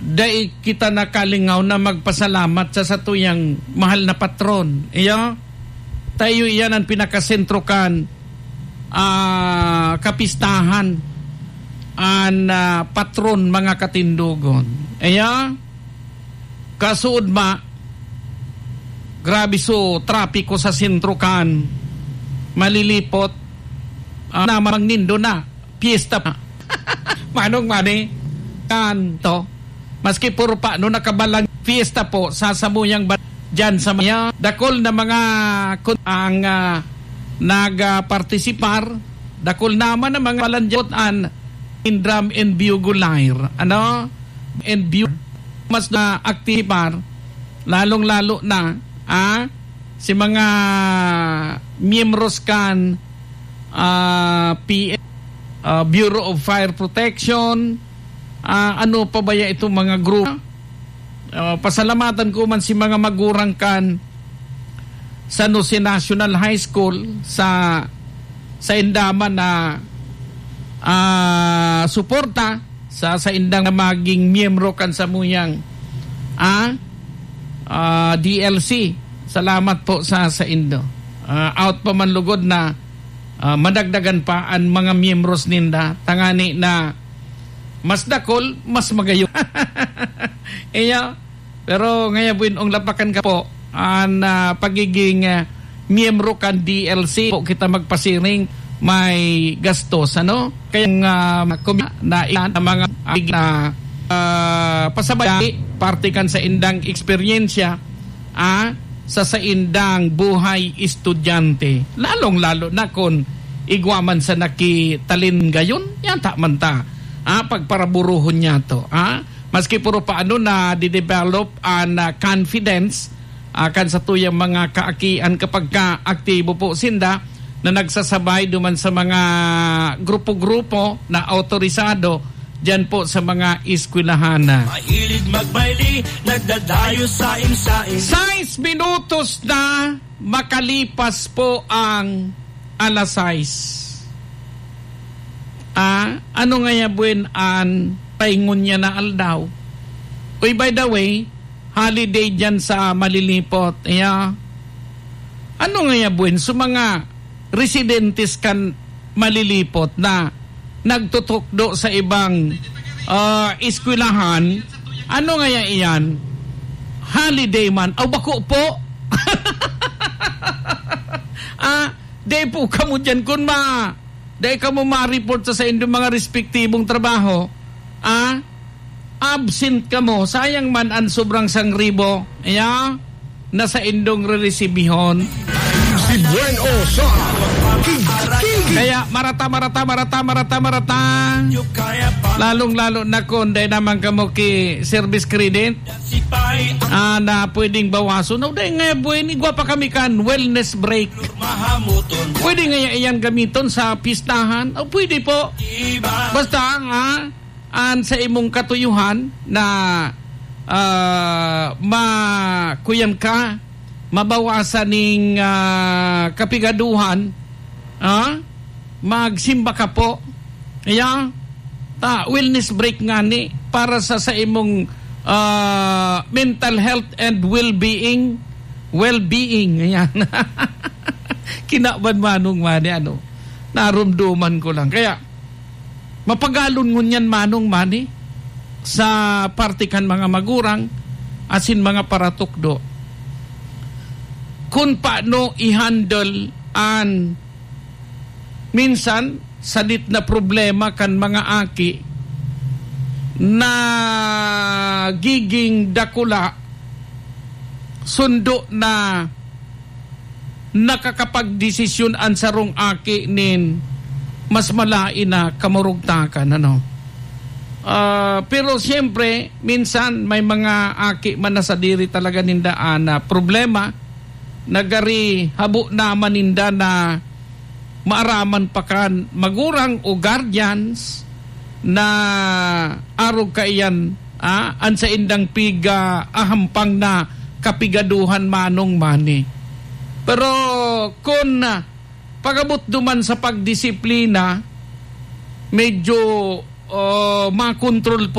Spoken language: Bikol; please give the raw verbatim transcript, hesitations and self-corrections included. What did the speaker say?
dai kita nakalingaw na magpasalamat sa satuyang mahal na patron. Iyo, tayo iyan ang pinakasentro kan, ah, kapistahan, an, ah, patron, mga katindogon. Iyo, kasuod ma, grabe so trapiko sa sentro kan Malilipot. Ah, namang nindo na. Piyesta pa. Manong Mani, kan to. Maski puro pa, no, nakabalang piyesta po sa samuyang ba-, dyan sa mga dakul na mga kun-, ang, ah, nag-, ah, partisipar, dakul naman ang mga balanjot an Indram and Bugulair. Ano? And Bu-, mas na aktipar, lalong-lalo na, ah, si mga miyembros kan, ah, P F, ah, Bureau of Fire Protection, ah, ano pa ba ya itong mga grupo? Ah, pasalamatan ko man si mga magurang kan San Jose National High School sa, sa indaman na, ah, suporta sa, sa indang na maging miyembro kan samuyang, ah, ah, D L C. Salamat po sa, sa indo. Ah, out pa man lugod na, ah, madagdagan pa an mga miyembros ninda. Tangani na mas dakul, mas magayon. Iya, pero ngaya buin ong lapakan ka po, an, ah, pagiging, ah, miyembro kan D L C po kita magpasiring, may gastos, ano? Kaya nga, kung na ilan ang mga, ah, na, ah, pasabay, parte kan sa indang eksperyensya, ah, sa saindang buhay estudyante. Lalong-lalo na kun igwa man sa nakitalin gayon, yata man ta, ah, pagparaburuhon niya to, ah. Maski puro paano na didevelop an, ah, confidence, ah, kan satuyang mga kaakian kapag ka aktibo po sinda na nagsasabay duman sa mga grupo-grupo na autorisado diyan po sa mga eskwelahan. Mahilig magbayli, nagdadayo sain-sain. Sais minutos na makalipas po ang alas sais. Ah, ano ngaya buin an paingon niya na aldaw? Uy, by the way, holiday diyan sa Malilipot. Yeah. Ano ngaya buin? So, mga residentes kan Malilipot na nagtutukdo sa ibang, ah, eskwelahan, ano ngaya iyan? Holiday man? Aw, bako po! Ah, di po kamo diyan kun ma-, di kamo ma-report sa, sa inyong mga respektibong trabaho. Ah, absent kamo. Sayang man an sobrang sangribo. Iya, na saindong reresibihon. Si Buen O sa King, King. Kaya marata, marata, marata, marata, marata. Lalong-lalo na kung dahil naman kamo ki service credit, ah, na pwedeng bawason. No, dahil nga, Buen, igwa pa kami kan wellness break. Pwede nga iyan gamiton sa pistahan? O, pwede po. Basta, ah, an sa imong katuyuhan na, ah, ma-, kuyan ka, mabawasan ning, ah, kapigaduhan, ah, magsimba ka po. Kaya, ta, wellness break nga ni para sa, sa imong, ah, mental health and well-being. Well-being, ayan. Kinaban manong mani, ano, narumduman ko lang. Kaya, mapagalon ngunyan manong mani sa parte kan mga magurang asin mga paratukdo. Kun paano i-handle an minsan sadit na problema kan mga aki na giging dakula, sundo na nakakapagdesisyon an sarong aki nin mas malain na kamurugtakan, ano. Ah, pero siyempre, minsan may mga aki man na sadiri talaga ninda an, ah, problema, nagari habo naman ninda na maaraman pa kan magurang o guardians na arog kaiyan, ah, an saindang piga-ahampang na kapigaduhan manong mani. Pero kun, ah, pag-abot duman sa pagdisiplina, medyo, oh, makontrol